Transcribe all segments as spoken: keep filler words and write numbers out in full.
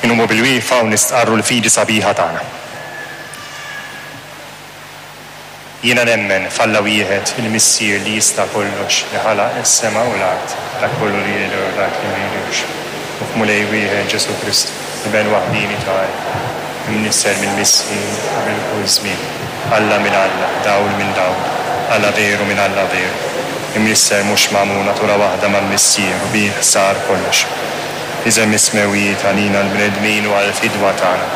Inqumu bilwieqfa u nistqarru l-fidi sabiħa tagħna. Jiena nemmen f'Alla wieħed, il-Missier li jista' kollox, li ħalaq is-sema u l-art, dak kollu li jidher u dak li ma jidhirx, u f'Mulej wieħed Ġesù Kristu, l-Iben waħdieni ta' Alla, imnissel mill-Missier qabel kull żmien, Alla minn Alla, dawl minn dawl, Alla veru minn Alla veru, imnissel mhux magħmul, natura waħda mal-Missier u bih sar kollox. Niżel mis-smewwiet għalina l-bnedmin u għall-fidwa tagħna,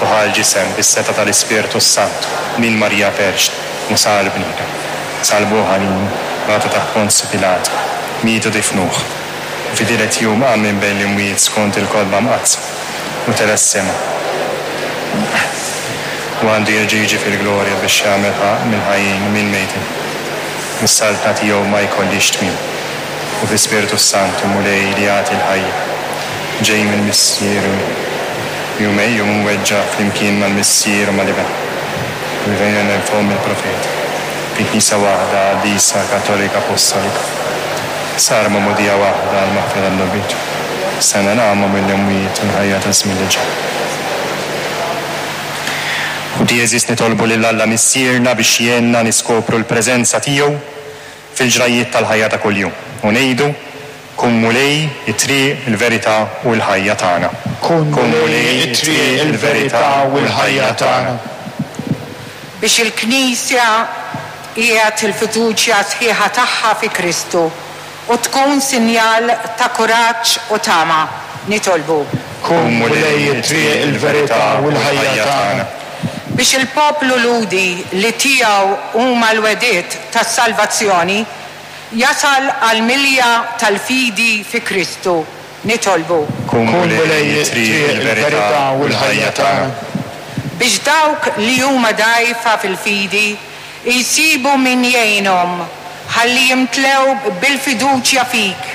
u ħa l-ġisem bis-setgħa tal-Ispirtu s-Santu minn Marija Verġni u sar bniedem. Sallbuh għalina, bagħtu taħt Ponzju Pilatu, miet u difnuh. U fit-tielet jum qam minn bejn l-imwiet skont il-Kotba Mqaddsa, u tela' s-sema. U għandu jerġa' jiġi fil-glorja biex jagħmel ħaqq mill-ħajjin u mill-mejtin, u s-saltna tiegħu ma jkollhiex tmiem. U fl-Ispirtu s-Santu, Mulej li jagħti l-ħajja, ġej mill-Missier u li hu megħjum u mweġġa' flimkien mal-Missier u mal-Iben, u li tkellem minn fomm il-profeti, fi Knisja waħda qaddisa Kattolika Apostolika, sar magħmudija waħda għall-maħfra tad-dnubiet, nistenna l-qawma mill-imwiet u l-ħajja taż-żmien li ġej. Ħuti għeżież, nitolbu lil Alla Missierna biex jgħinna niskopru l-preżenza tiegħu fil-ġrajjiet tal-ħajja ta' kuljum u ngħidu: Kun Mulej, it-triq, il-verità u l-ħajja tagħna. Kun Mulej, it-triq, il-verità u l-ħajja tagħna. Biex il-Knisja tqiegħed il-fiduċja sħiħa tagħha fi Kristu u tkun sinjal ta' kuraġġ u tama, nitolbu. Kun Mulej, it-triq, il-verità u l-ħajja tagħna. Biex il-poplu Lhudi li tiegħu huma l-wegħdiet tas-salvazzjoni jasal għall-milja tal-fidi fi Kristu, nitolbu. Kun Kun Mulej, Mulej, it-triq, it-triq, il-verità il-verità u u l-ħajja l-ħajja tagħna. tagħna. Biex dawk li huma dgħajfa fil-fidi jsibu min jgħinhom ħalli jimtlew bil-fiduċja fik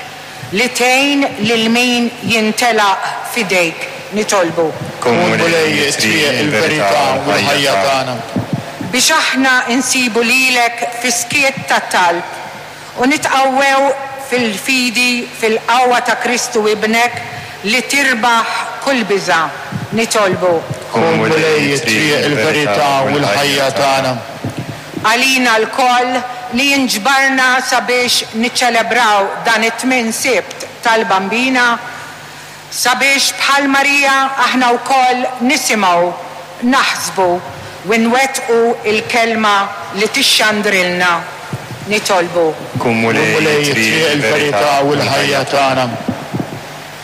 li tgħin lil min jintelaq f'idejk, nitolbu. Kun Kun Mulej, Mulej, it-triq, it-triq, il-verità il-verità u u l-ħajja l-ħajja tagħna. tagħna. Biex aħna nsibu lilek fis-skiet tat-talb u nitqawwew fil-fidi fil-qawwa ta' Kristu Ibnek li tirbaħ kull biża', nitolbu. Kun Kun Mulej, Mulej, it-triq, it-triq, il-verità il-verità u u l-ħajja l-ħajja tagħna. tagħna. Għalina lkoll li nġbarna sabiex niċċelebraw dan it-tmien Sibt tal-Bambina, sabiex bħal Marija aħna wkoll nisimgħu, naħsbu u nwettqu il-kelma li tixxandrilna. Nitolbu. Kun Kun Mulej, Mulej, it-triq, it-triq, il-verità il-verità u u l-ħajja l-ħajja tagħna. tagħna.